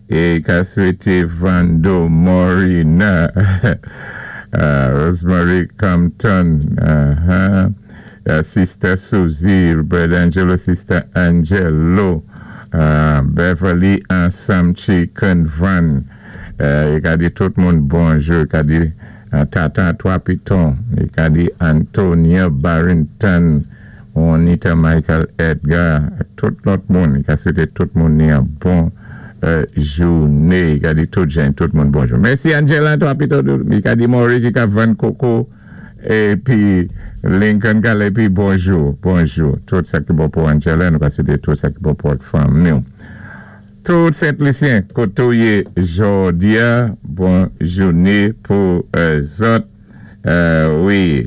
É ka swété Vando Morina, Rosemary Compton, Sister Susie, Brother Angelo, Sister Angelo, Beverly ansanm Chicken Van. I ka di tout moun bonjou. I ka di Tata Twa Piton. I ka di Antonia Barrington, Juanita Michael Edgar, tout lòt moun. I ka swété tout moun ni an bon jouné. I ka di tout jan, tout moun bonjou. Mèsi Angela Twa Piton. I ka di Maury ki ka vann koko épi Lincoln ka épi bonjou, bonjou. Tout sa ki bon pou Angela, nou ka swété tout sa ki bon pou ak fanmi. Tout Sent-Lisyen, koté ou yé jòdi-a, bon jouné pou zòt. Wi,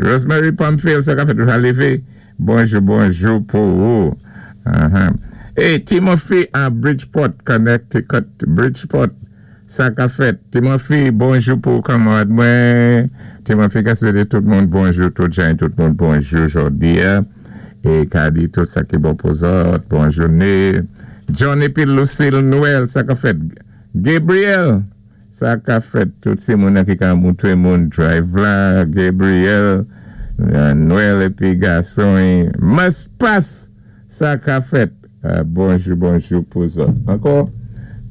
Rosemary Pamphile, sa ka fèt ou lévé. Bonjou, bonjou pou ou. E Timothy à Bridgeport, Connecticut, Bridgeport, sa ka fèt. Timothy, bonjou pou kanmarad mwen. Timothy ka swété tout moun bonjou, tout jan, tout moun bonjou jòdi-a. É ka di tout sa ki bon pou zòt, bon jouné. John épi Lucille Noël, sa ka fèt. Gabriel, sa ka fèt. Tout sé moun ki ka moutré moun drive la. Gabriel, Noël épi gason. Must pass, sa ka fèt. Bonjou, bonjou pou zòt. Ankò,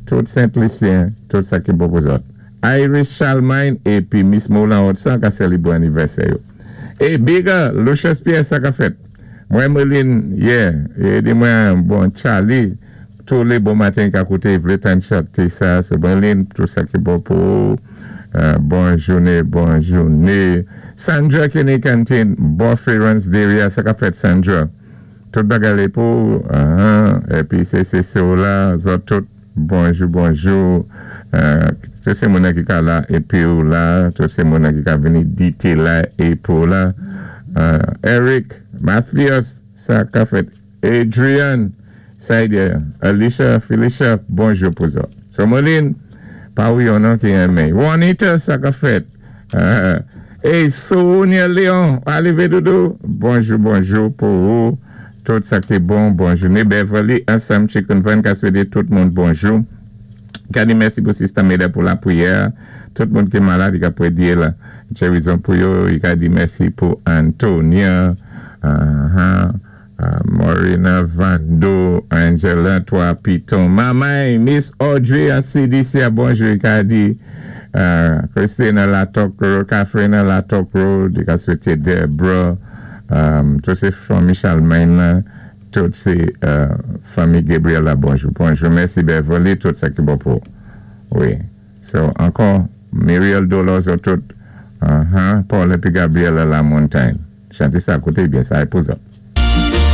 tout Sent-Lisyen, tout sa ki bon pou zòt. Iris Charlemagne épi Miss Moulin Hudson ka sélébwé anivèsè yo. É Bigger, Lucius Pierre, sa ka fèt. Mwen Meline, yeah, é di mwen, bon, Charlie, tou lé bon maten ka kouté vlé tann chanté sa, sé Meline, tout sa ki bon pou ou. Bon jouné, bon jouné. Sandra Kenny Canteen, Bonferance Deria, sa ka fèt Sandra. Tout bagay pou, épi sé la, zòt tout, bonjou, bonjou. Tout sé moun ki ka la épi ou la, tout sé moun ki ka vini dité la épi ou la. Eric, Mathias, sa ka fèt. Adrian, Saidia, Alicia, Felicia, bonjou pou zòt. So Moline, pa ou yon non ki renmen. Juanita, sa ka fèt. E Sonia Léon, alivé doudou, bonjou, bonjou pou ou. Tout sa ki bon, bon jouné. Beverly, ansanm Chicken Van, ka swété tout moun bonjou. Ka di mèsi pou Sister Meda pou lapriyè. Tout moun ki malad, i ka pwédyé la. Gerizon pou yo, i ka di mèsi pou Antonia, Morina Vando, Angela Twa Piton, Mamay, Miss Audrey à CDC, bonjou, i ka di Christina Latok Road, Catherine Latok Road, i ka swété Deborah, tout sé fanmi Charlemagne la, tout sé fanmi Gabriel la, bonjou, bonjou, mèsi Beverly, tout sa ki bon pou, wi. So, ankò, Muriel Dolores, tout, Paul épi Gabriel la Montagne. Chanté sa kouté byen, sa é pou zòt.